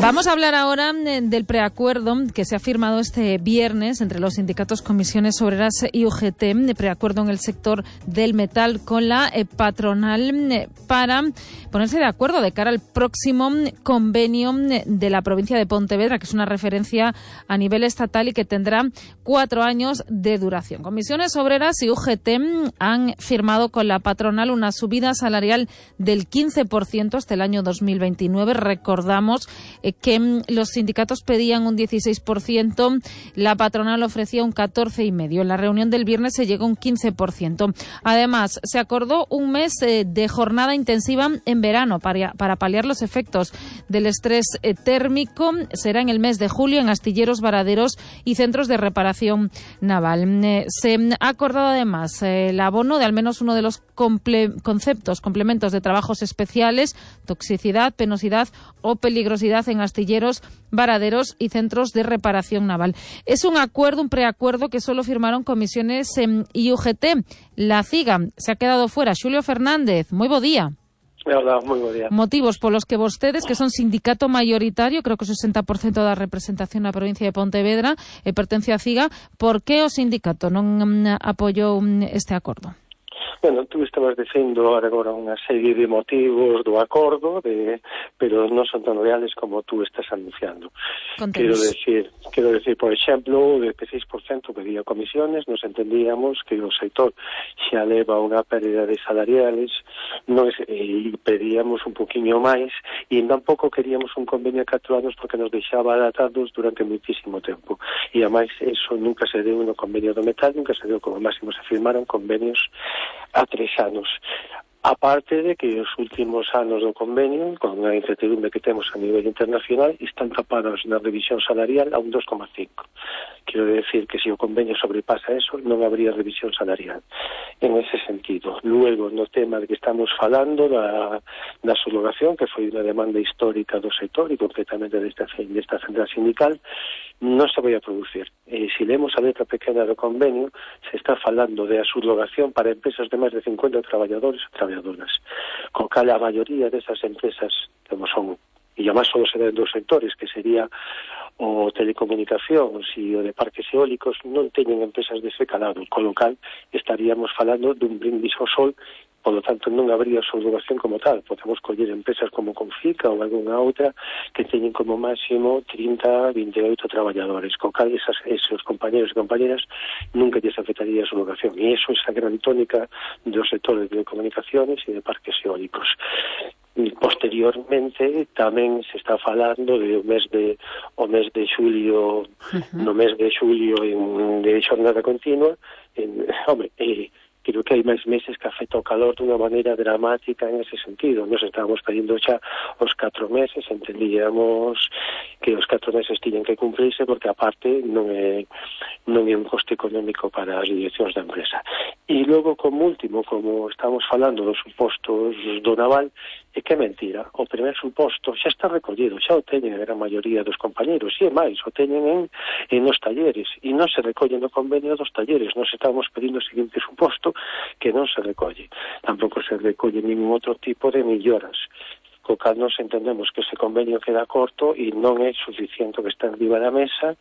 Vamos a hablar ahora del preacuerdo que se ha firmado este viernes entre los sindicatos Comisiones Obreras y UGT, de preacuerdo en el sector del metal con la patronal para ponerse de acuerdo de cara al próximo convenio de la provincia de Pontevedra, que es una referencia a nivel estatal y que tendrá 4 años de duración. Comisiones Obreras y UGT han firmado con la patronal una subida salarial del 15% hasta el año 2029. Recordamos que los sindicatos pedían un 16%, la patronal ofrecía un 14,5%. En la reunión del viernes se llegó a un 15%. Además, se acordó un mes de jornada intensiva en verano para paliar los efectos del estrés térmico. Será en el mes de julio en astilleros, varaderos y centros de reparación naval. Se ha acordado además el abono de al menos uno de los complementos de trabajos especiales: toxicidad, penosidad o peligrosidad en astilleros, varaderos y centros de reparación naval. Es un preacuerdo que solo firmaron Comisiones y UGT. La CIGA se ha quedado fuera. Xulio Fernández, moi bo día. Hola, moi bo día. Motivos polos que vostedes, que son sindicato mayoritario, creo que o 60% da representación na provincia de Pontevedra, pertence á CIGA, por que o sindicato non apoiou este acordo? Bueno, tú estabas dicindo agora unha serie de motivos do acordo, pero non son tan reales como tú estás anunciando. Quero decir, por exemplo, o 16% pedía comisiones, nos entendíamos que o sector xa leva unha pérdida de salariales, e pedíamos un poquinho máis, e tampouco queríamos un convenio a 4 anos porque nos deixaba adaptados durante muitísimo tempo. E ademais, eso nunca se deu no convenio do metal, nunca se deu, como máximo se firmaron convenios a 3 anos. Aparte de que os últimos anos do convenio, con a incertidumbre que temos a nivel internacional, están tapados na revisión salarial a un 2,5. Quero decir que se o convenio sobrepasa eso, non habría revisión salarial. En ese sentido. Luego, no tema de que estamos falando da subrogación, que foi unha demanda histórica do sector e concretamente desta central sindical, non se vai a producir. Se lemos a letra pequena do convenio, se está falando de a subrogación para empresas de máis de 50 traballadores e traballadoras, con cal a maioría desas empresas, como son, e además só se den dos sectores, que sería o telecomunicacións e o de parques eólicos, non teñen empresas dese calado, con lo cal estaríamos falando dun brindis ao sol. Por lo tanto, non habría subrogación como tal. Podemos coller empresas como Confica ou algunha outra que teñen como máximo 30, 28 traballadores. Con cal esos compañeros e compañeras nunca lles afectaría a subrogación. E iso é a gran tónica dos sectores de telecomunicaciones e de parques eólicos. Posteriormente tamén se está falando do mes de xulio, no mes de xulio de xornada continua. Creo que hai máis meses que afecta o calor dunha maneira dramática en ese sentido. Nos estábamos pedindo xa os 4 meses, entendíamos que os 4 meses tiñen que cumplirse porque aparte non é un coste económico para as direccións da empresa. E logo, como último, como estamos falando dos supostos do naval, é que é mentira. O primer suposto xa está recollido, xa o teñen a gran maioría dos compañeros, e é máis, o teñen en os talleres, e non se recolle no convenio dos talleres. Nos estamos pedindo o seguinte suposto, que non se recolle. Tampouco se recolle ningún outro tipo de melloras. Co cal nos entendemos que ese convenio queda corto e non é suficiente que está arriba da mesa,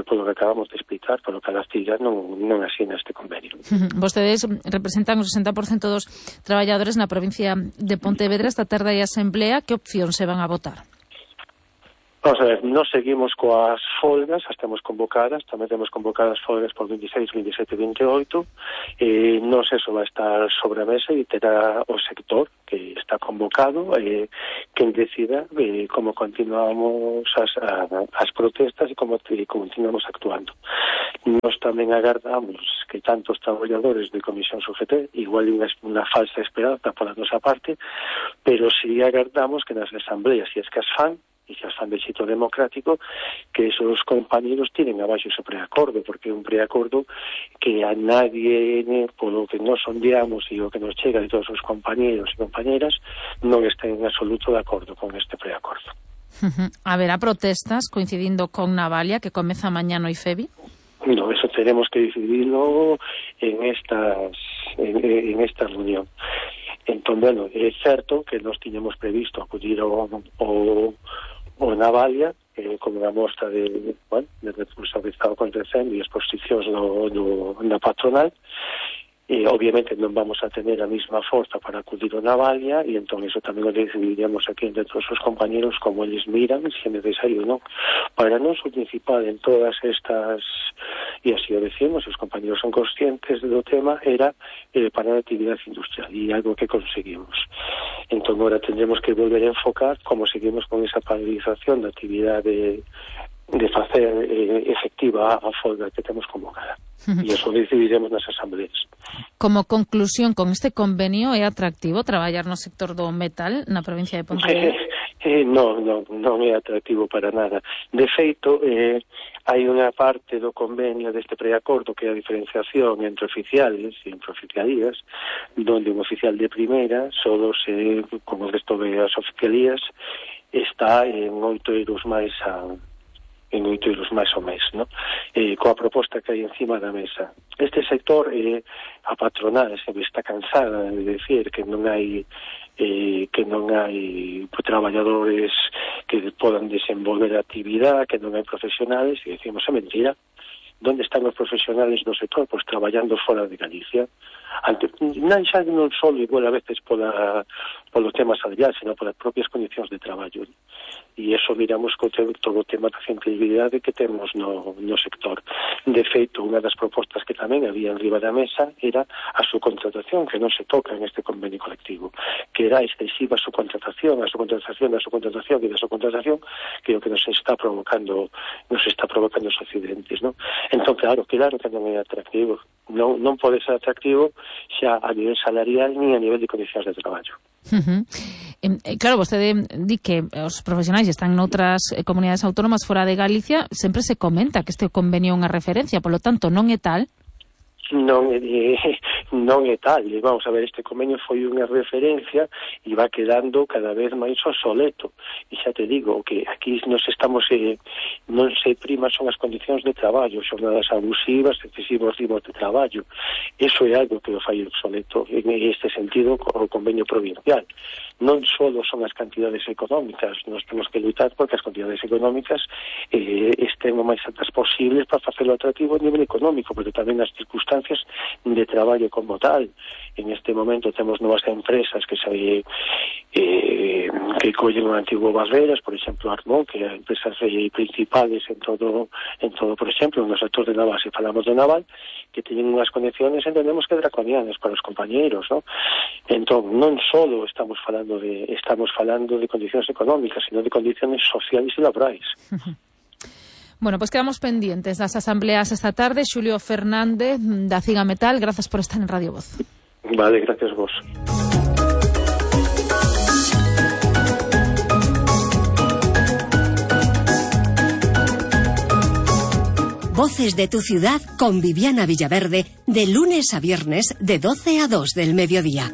polo que acabamos de explicar, polo que a CIGA non asina este convenio. Vostedes representan o 60% dos traballadores na provincia de Pontevedra. Esta tarde hai asamblea. Que opción se van a votar? Vamos a ver, nos seguimos coas folgas, as temos convocadas, tamén temos convocadas folgas por 26, 27 e 28, nos eso vai estar sobre a mesa e terá o sector que está convocado, quen decida como continuamos as protestas e como continuamos actuando. Nos tamén agardamos que tantos traballadores de Comisión UGT, igual unha falsa esperanza pola nosa parte, pero si agardamos que nas asambleas, se es que as fan, e que as fan de xeito democrático, que esos compañeros tienen abaixo ese preacordo, porque é un preacordo que a nadie, polo que nos sondeamos e o que nos chega de todos os compañeros e compañeras, non está en absoluto de acordo con este preacordo. Haberá protestas coincidindo con Navalia, que comeza mañá no IFEBI? No, eso tenemos que decidirlo en esta reunión. Entón, bueno, é certo que nos tiñamos previsto acudir ao Navalia, como unha mostra de recursos que está acontecendo e exposicións na patronal. Obviamente non vamos a tener a mesma forza para acudir ao Navalia, e entón iso tamén o decidiríamos aquí entre todos os compañeros como eles miran, se é necesario ou non. Para nós o principal en todas estas, e así o decimos, os compañeros son conscientes do tema, era parar a actividade industrial, e algo que conseguimos. Entón agora tendremos que volver a enfocar como seguimos con esa paralización da actividade de facer efectiva a folga que temos convocada. E iso decidiremos nas asambleas. Como conclusión, con este convenio é atractivo traballar no sector do metal na provincia de Pontevedra? Non é atractivo para nada. De feito, hai unha parte do convenio deste preacordo que é a diferenciación entre oficiales e entre oficialías, donde un oficial de primeira solo se, como o resto das oficialías, está en 8 euros máis ao mes, ¿no? Coa proposta que hai encima da mesa. Este sector, a patronal sempre está cansada de decir que non hai traballadores que podan desenvolver a actividade, que non hai profesionales, e decimos, é mentira. Onde están os profesionales do sector? Pois traballando fora de Galicia. Non só igual a veces polo tema salarial, sino polas propias condicións de traballo. E iso miramos con todo o tema da centralidade que temos no sector. De feito, unha das propostas que tamén había en riba da mesa era a subcontratación, que non se toca en este convenio colectivo, que era excesiva subcontratación, a subcontratación, que é o que nos está provocando os accidentes, non? Entón, claro que non é atractivo. Non pode ser atractivo xa a nivel salarial ni a nivel de condicións de traballo. Claro, vostede di que os profesionais están noutras comunidades autónomas fora de Galicia, sempre se comenta que este convenio é unha referencia, polo tanto, non é tal? Non é tal. Vamos a ver, este convenio foi unha referencia e va quedando cada vez máis obsoleto. E xa te digo que aquí non se prima son as condicións de traballo, xornadas abusivas, excesivos ritmos de traballo. Iso é algo que o fai obsoleto en este sentido o convenio provincial. Non só son as cantidades económicas, nos temos que lutar porque as cantidades económicas estén o máis altas posibles para facelo atractivo a nivel económico, pero tamén as circunstancias de traballo como tal. En este momento temos novas empresas que collen o antigo Barreras, por exemplo, Armón, que é empresas principales en todo, por exemplo, no sector de naval, se falamos de naval, que teñen unhas condiciones, entendemos que draconianas para os compañeiros, ¿no? Entón, non só estamos falando de condicións económicas, sino de condicións sociales e laborais. Bueno, pues quedamos pendientes das asambleas esta tarde. Xulio Fernández, da Ciga Metal, grazas por estar en Radio Voz. Vale, gracias vos. Voces de tu ciudad con Viviana Villaverde, de lunes a viernes de 12 a 2 del mediodía.